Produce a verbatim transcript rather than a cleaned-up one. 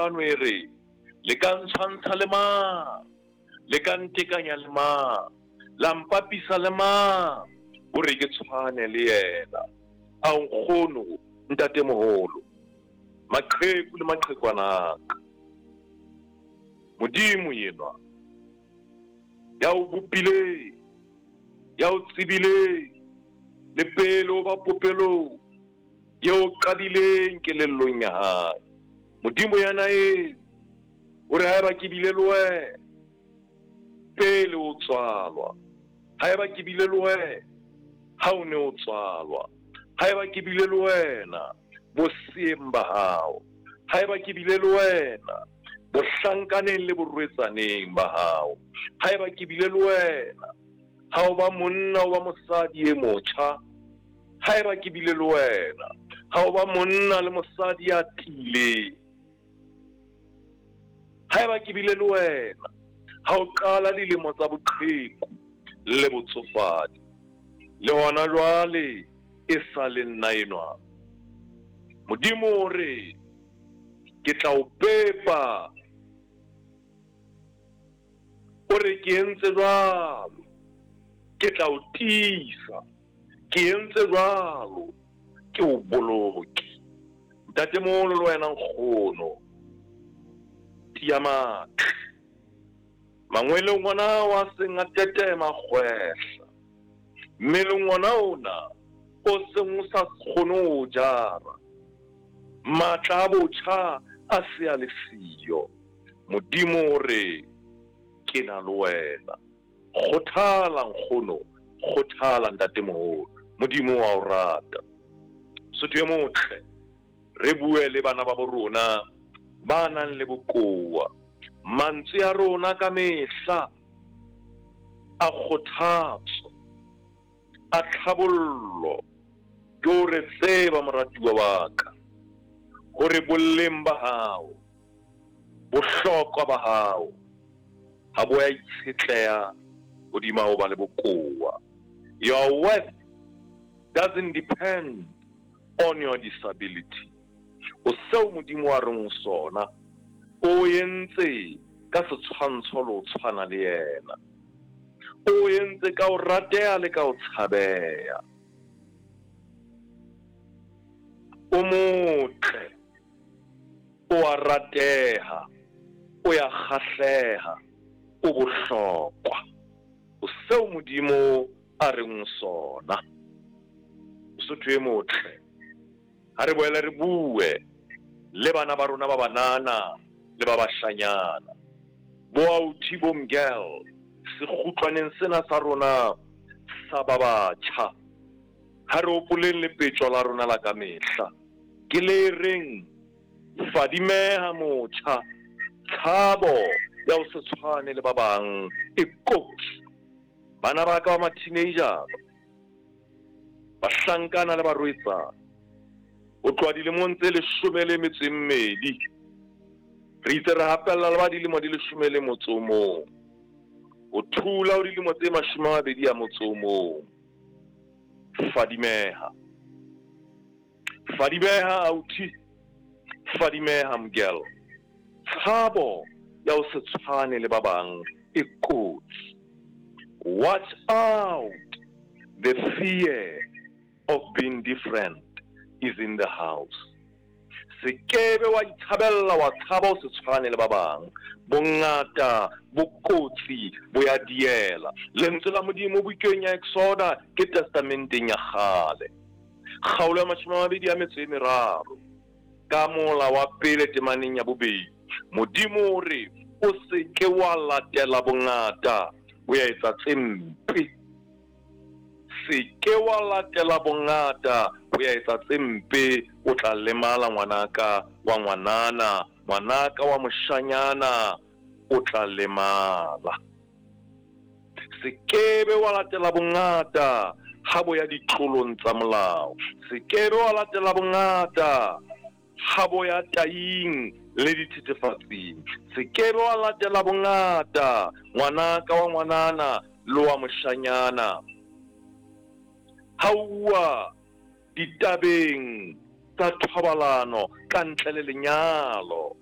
Hlano e re, le ka ntshwantsha le mang? Le ka ntekanya le mang? La mpapisa le mang hore ke tshwane le yena? Ao nkgono, ntatemoholo, maqheku le maqhekwana a ka. Modimo enwa ya o bopileng, ya o tsebileng le pele o ba popelong, eo o qadileng kelellong ya hae. Modimo yena eo o re haeba ke bile le wena pele o tswalwa, haeba ke bile le wena ha o ne o tswalwa, haeba ke bile le wena boseeng ba hao, haeba ke bile le wena bohlankaneng le borwetsaneng ba hao, haeba ke bile le wena ha o ba monna o ba mosadi e motjha, haeba ke bile le wena ha o ba monna le mosadi ya tiileng, haeba ke bile le wena ha o qala dilemo tsa boqheku le botsofadi, le hona jwale e sa le nna enwa. Modimo o re ke tla o pepa, o re ke entse jwalo, ke tla o tiisa, ke entse jwalo, ke o boloke. Ntatemoholo le wena nkgono, tiya matla. Mangweleng ona wa seng a tetema kgwehla, mmeleng ona ona o seng o sa kgone ho jara, matla a botjha a se a le siyo. Modimo o re ke na le wena. Kgothala nkgono, kgothala ntatemoholo, Modimo wa o rata. Sotho e motle, re bue le bana ba bo rona ba nang le bokowa. Mantswe a rona ka mehla a kgothatso, a tlhabollo, ke hore tseba moratuwa wa ka hore boleng ba hao, bohlokwa ba hao ha bo ya itshetleha hodima ho ba le bokowa. Your worth doesn't depend on your disability. O seo Modimo a reng o sona, o entse ka setshwantsho le ho tshwana le yena, o entse ka ho rateha le ka ho tshabeha. O motle, o a rateha, o ya kgahleha, o bohlokwa. O seo Modimo a reng o sona. Mosotho e motle, ha re boele re bue le bana ba rona ba banana le ba bashanyana, bo authi bo mgel, sekgutlwaneng sena sa rona sa ba batjha. Ha re hopoleng lepetjo la rona la ka mehla, ke le reng fadimeha motjha, tshabo ya ho se tshwane le ba bang e kotsi. Bana ba ka ba ma-teenager, bahlankana le barwetsana, ho tloha dilemong tse leshome le metso e mmedi, re itse re hapella le ba dilemo di leshome le motso o mong, ho thula ho dilemo tse mashome a mabedi a motso o mong. Fadimeha, fadimeha authi, fadimeha mgel, tshabo ya ho se tshwane le ba bang e kotsi. Watch out, the fear of being different is in the house. Se kebe wa itshabella wa tshaba ho se tshwane le ba bang. Bongata bo kotsi bo ya diela. Lentswe la Modimo bukeng ya Exoda ke testamenteng ya kgale, kgaolo ya mashome a mabedi a metso e meraro, ka mola wa pele temaneng ya bobedi, Modimo o re o se ke wa latela bongata ho ya etsa tse mpe. Se ke wa latela bongata ho ya etsa tse mpe, o tla lemala ngwanaka wa ngwanana, ngwanaka wa moshanyana, o tla lemala. Se kebe wa latela bongata ha bo ya ditlolong tsa molao. Se kebe wa latela bongata ha bo ya taing le dithethefatsing. Se kebe wa latela bongata ngwanaka wa ngwanana le wa moshanyana ha uwa ditabeng tsa thobalano ka ntle le lenyalo.